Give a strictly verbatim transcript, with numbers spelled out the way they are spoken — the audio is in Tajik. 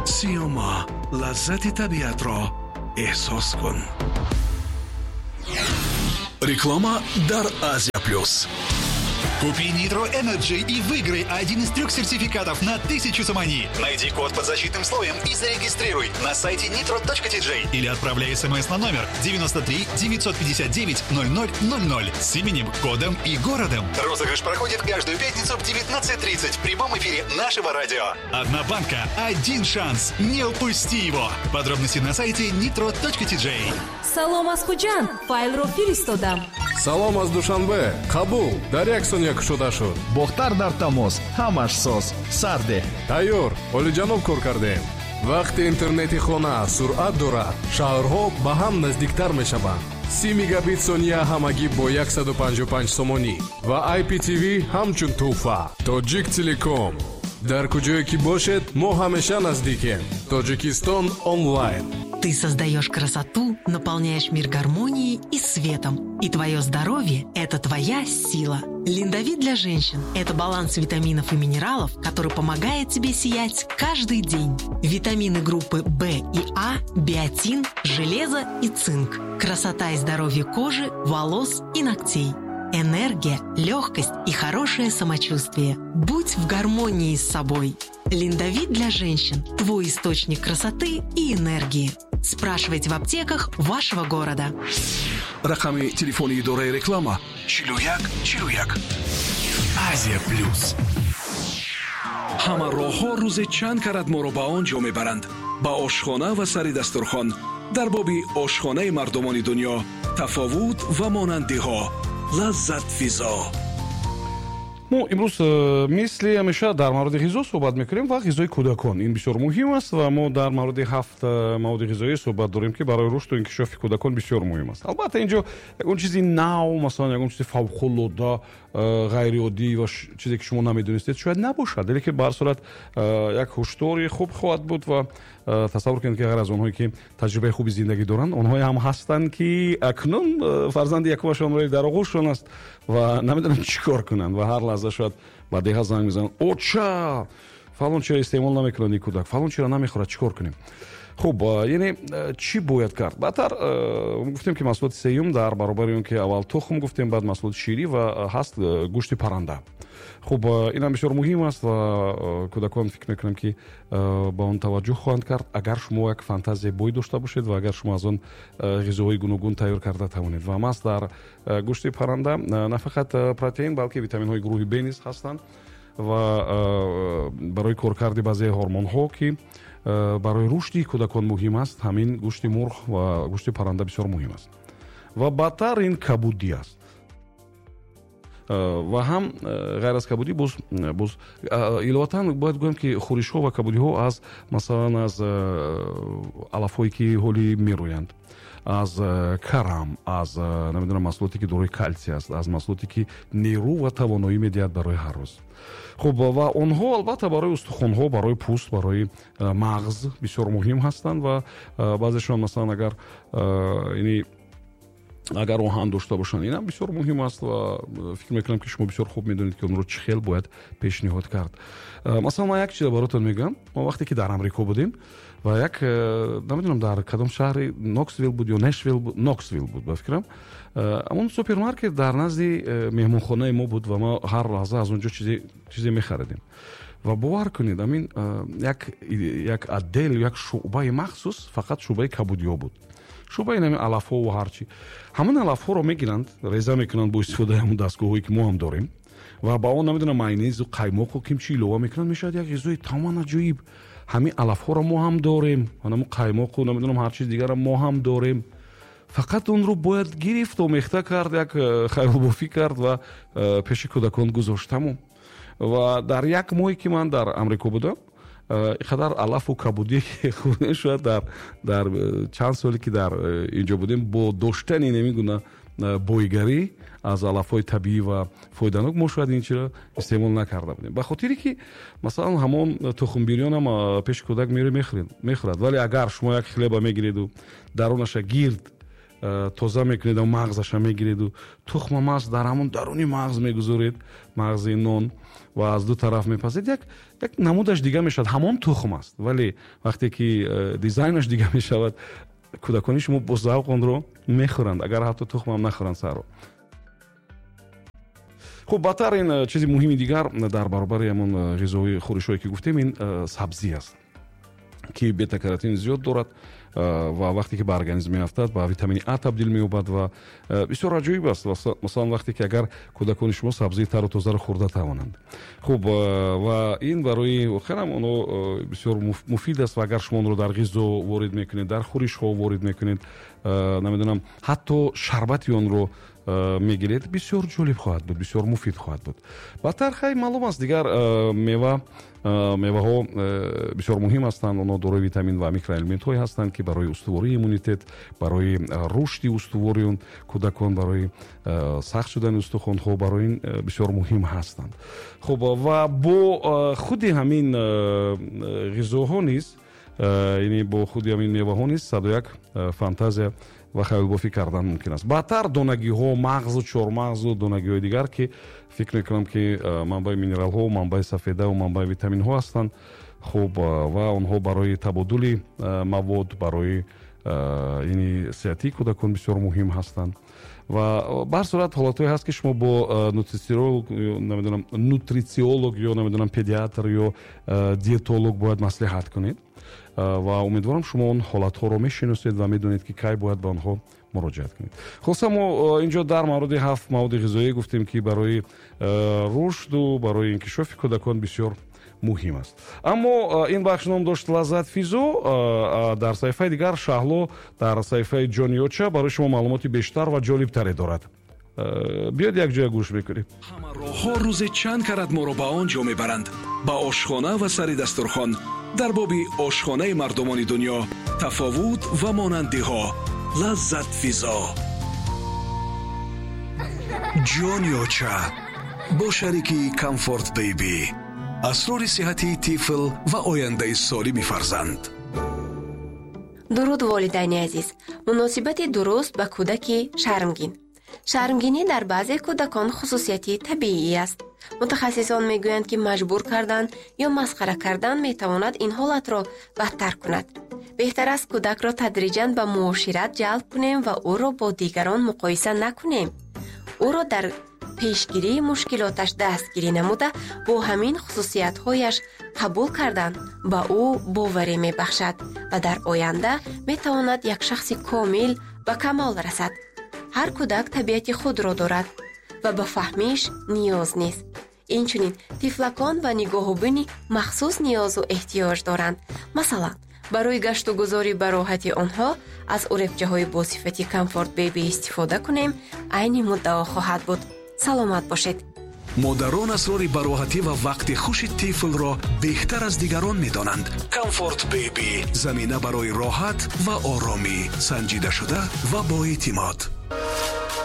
Сиёма, лаззати табиатро эҳсос кун. Реклама дар Азия Плюс. Купи Nitro Energy и выиграй один из трех сертификатов на тысячу сомони. Найди код под защитным слоем и зарегистрируй на сайте nitro точка T J или отправляй смс на номер девяносто три девятьсот пятьдесят девять ноль ноль ноль ноль с именем, кодом и городом. Розыгрыш проходит каждую пятницу в девятнадцать тридцать в прямом эфире нашего радио. Одна банка, один шанс. Не упусти его. Подробности на сайте nitro точка T J. Салом аз Хуҷанд, файлро фиристодам. Салом аз Душанбе, қабул, дар як сония кушода шуд. Бохтар дар тамос, ҳамаш соз, сарде. Тайёр, олиҷаноб кор кардем. Вақте интернети хона суръат дорад, шаҳрҳо ба ҳам наздиктар мешаванд. Си мегабит сония ҳамагӣ бо яксаду панҷоҳу панҷ сомонӣ ва I P T V ҳамчун тӯҳфа. Тоҷик Телеком, дар куҷое ки бошед, мо ҳамеша наздикем. Тоҷикистон онлайн. Ты создаешь красоту, наполняешь мир гармонией и светом. И твое здоровье – это твоя сила. Линдовит для женщин – это баланс витаминов и минералов, который помогает тебе сиять каждый день. Витамины группы В и А, биотин, железо и цинк. Красота и здоровье кожи, волос и ногтей. Энергия, легкость и хорошее самочувствие. Будь в гармонии с собой. Линдовит для женщин – твой источник красоты и энергии. Спрашивайте в аптеках вашего города. Рақами телефони идораи реклама чилу як чилу як. Азия Плюс. Ҳама роҳҳо рӯзе чанд карат моро ба он ҷо мебаранд, ба ошхона ва сари дастурхон. Дар боби ошхонаи мардумони дунё, тафовут ва монандиҳо, лаззатфизо. Мо имрӯз э, мисли ҳамеша дар мавриди ғизо суҳбат мекунем ва ғизои кӯдакон, ин бисёр муҳим аст. Ва мо дар мавриди ҳафт э, маводи ғизоӣ суҳбат дорем, ки барои рушду инкишофи кӯдакон бисёр муҳим аст. Албатта, инҷо ягон чизи нав, масалан, ягон чизи фавқулода э, ғайриоддӣ ва чизе, ки шумо намедонистед, шояд набошад, лекин ба ҳар сурат як ҳушдори хуб хоҳад буд. Ва тасаввур кунед, ки ғайр аз онҳое, ки таҷрибаи хуби зиндагӣ доранд, онҳое ҳам ҳастанд, ки акнун фарзанди якумашонро дар оғӯшшон аст ва намедонанд чӣ кор кунанд. Ва ҳар лаҳза шояд ба деҳа занг мезананд: «Оча, фалон чиро истеъмол намекунад ин кӯдак, фалон чиро намехӯрад, чӣ кор кунем?» Хуб, яъне чӣ бояд кард? Баъдтар гуфтем, ки маҳсулоти сеюм, дар баробари он ки аввал тухм гуфтем, баъд маҳсулоти ширӣ ва ҳаст гӯшти парранда. Хуб, инам бисёр муҳим аст ва кӯдакон, фикр мекунам, ки ба он таваҷҷӯҳ хоҳанд кард, агар шумо як фантазияи бой дошта бошед ва агар шумо аз он ғизоҳои гуногун тайёр карда тавонед. Ва маҳз дар гӯшти парранда на фақат протеин, балки витаминҳои гурӯҳи Б низ ҳастанд ва барои коркарди баъзе ҳормонҳо, ки барои рушди кӯдакон муҳим аст, ҳамин гӯшти мурғ ва гӯшти парранда бисёр муҳим аст. Ва баъдтар ин кабудӣ аст. Ва ҳам ғайр аз кабудӣ, боз боз иловатан бояд гӯям, ки хӯришҳо ва кабудиҳо аз, масалан, аз алафҳое, ки ҳоли мерӯянд, аз карам, аз, намедонам, маҳсулоте, ки дорои калсий аст, аз маҳсулоте, ки нерӯ ва тавоноӣ медиҳад барои ҳар рӯз. Хуб, ва онҳо албатта барои устухонҳо, барои пӯст, барои мағз бисёр муҳим ҳастанд. Ва баъзешон, масалан, агар ини агар оҳан дошта бошанд, инам бисёр муҳим аст. Ва фикр мекунам, ки шумо бисёр хуб медонед, ки онро чӣ хел бояд пешниҳод кард. Масалан, ман як чиза баротон мегӯям. Мо вақте ки дар Амрико будем ва як, намедонам, дар кадом шаҳри, Ноксвилл буд ё Нешвилл буд, Ноксвилл буд, ба фикрам, ҳамон супермаркет дар назди меҳмонхонаи мо буд ва мо ҳар лаҳза аз он ҷо чизе мехаридем. Ва бовар кунед, амин як як отдел, як шӯъбаи махсус, фақат шӯъбаи кабудиҳо буд, шӯъбаи нами алафҳо ва ҳарчи. Ҳамон алафҳоро мегиранд, реза мекунанд бо истифодаи ҳамон дастгоҳҳое, ки мо ҳам дорем, ва ба он, намедонам, майонезу қаймоқу кимчи илова мекунанд, мешавад як ғизои тамоман аҷоиб. Ҳамин алафҳоро мо ҳам дорем, ҳамон қаймоқу, намедонам, ҳар чиз дигарро мо ҳам дорем, фақат онро бояд гирифт, омехта кард, як э, хаёлбофӣ кард ва э, пеши кӯдакон гузошт, тамом. Ва дар як моҳе, ки ман дар Амрико будам, э, ин қадар алафу кабудие хӯрдем, шояд дар дар чанд соле, ки дар инҷо будем, бо доштани ҳамин гуна бойгарӣ аз алафҳои табиӣ ва фоиданок, мо шояд ин чиро истеъмол накарда будем. Ба хотире ки, масалан, ҳамон тухмбирёнам пеши кӯдак мехӯрад, вале агар шумо як хлеба мегиреду дарунаша гирд тоза мекунед, мағзаша мегиреду тухма маст дар ҳамон даруни мағз мегузоред, мағзи нон, ва аз ду тараф мепазед, як як намудаш дига мешавад. Ҳамон тухм аст, вале вақте ки дизайнаш дига мешавад, кӯдакони шумо бо завқ онро мехӯранд, агар ҳатто тухмам нахӯранд саҳро. Хуб, баъдтар ин чизи муҳими дигар дар баробари ҳамон ғизои хӯришҳое ки гуфтем, ин сабзӣ аст, ки бета-каротин зиёд дорад ва вақте ки ба организм меафтад, ба витамини А табдил меёбад ва бисёр аҷоиб аст. Масалан, вақте ки агар кӯдакони шумо сабзии тару тозаро хӯрда тавонанд. Хуб, ва ин барои воқеан онҳо бисёр муфид аст ва агар шумо онро дар ғизо ворид мекунед, дар хӯришҳо ворид мекунед, намедонам, ҳатто шарбати онро мегиред, бисёр ҷолиб хоҳад буд, бисёр муфид хоҳад буд. Баъдтар хай маълум аст, дигар мева меваҳо бисёр муҳим ҳастанд. Онҳо дорои витамин ва микроэлементҳое ҳастанд, ки барои устувории иммунитет, барои рушди устувори кӯдакон, барои сахт шудани устухонҳо, барои ин бисёр муҳим ҳастанд. Хуб, ва бо худи ҳамин ғизоҳо низ, яъне бо худи ҳамин меваҳо низ саду як фантазия ва хаёлбофӣ кардан мумкин аст. Баъдтар донагиҳо, мағзу чормағзу донагиҳои дигар, ки фикр мекунам, ки манбаи минералҳо, манбаи сафедаву манбаи витаминҳо ҳастанд. Хуб, ва онҳо барои табодули мавод, барои яъне сиҳатии кӯдакон бисёр муҳим ҳастанд. Ва ба ҳар сурат ҳолатҳое ҳаст, ки шумо бо нутрициолог, намедонам, нутрициолог ё намедонам педиатр ё диетолог бояд маслиҳат кунед ва умедворам шумо он ҳолатҳоро мешиносед ва медонед, ки кай бояд ба онҳо муроҷиат кунед. Хулоса, мо инҷо дар мавриди ҳафт маводи ғизоӣ гуфтем, ки барои рушду барои инкишофи кӯдакон бисёр муҳим аст. Аммо ин бахш ном дошт Лаззат Физо. Дар саҳифаи дигар Шаҳло дар саҳифаи Ҷониёча барои шумо маълумоти бештар ва ҷолибтаре дорад. Биёд якҷоя гӯш мекунем. Ҳама роҳҳо рӯзе чанд карат моро ба он ҷо мебаранд, ба ошхона ва сари дастурхон. Дар боби ошхонаи мардумони дунё, тафовут ва монандиҳо. Лаззат Физо. Ҷониёча бо шарики Комфорт Бейби. Асрори сиҳатии тифл ва ояндаи солими фарзанд. Дуруд, волидайни азиз. Муносибати дуруст ба кӯдаки шармгин. Шармгинӣ дар баъзе кӯдакон хусусияти табиӣ аст. Мутахассисон мегӯянд, ки маҷбур кардан ё масхара кардан метавонад ин ҳолатро бадтар кунад. Беҳтар аст кӯдакро тадриҷан ба муошират ҷалб кунем ва ӯро бо дигарон муқоиса накунем. Ӯро дар пешгирии мушкилоташ дастгирӣ намуда, бо ҳамин хусусиятҳояш қабул кардан ба ӯ боварӣ мебахшад ва дар оянда метавонад як шахси комил ба камол расад. Ҳар кӯдак табиати худро дорад ва ба фаҳмиш ниёз нест. Инчунин тифлакон ба нигоҳубини махсус ниёзу эҳтиёҷ доранд. Масалан, барои гаштугузорӣ ба роҳати онҳо аз уребчаҳои бо сифати Комфорт Бейби истифода кунем, айни муддао хоҳад буд. Саломат бошед. Модарон асрори бароҳатӣ ва вақти хуши тифлро беҳтар аз дигарон медонанд. Комфорт Бейби замина барои роҳат ва оромӣ, санҷида шуда ва боэътимод.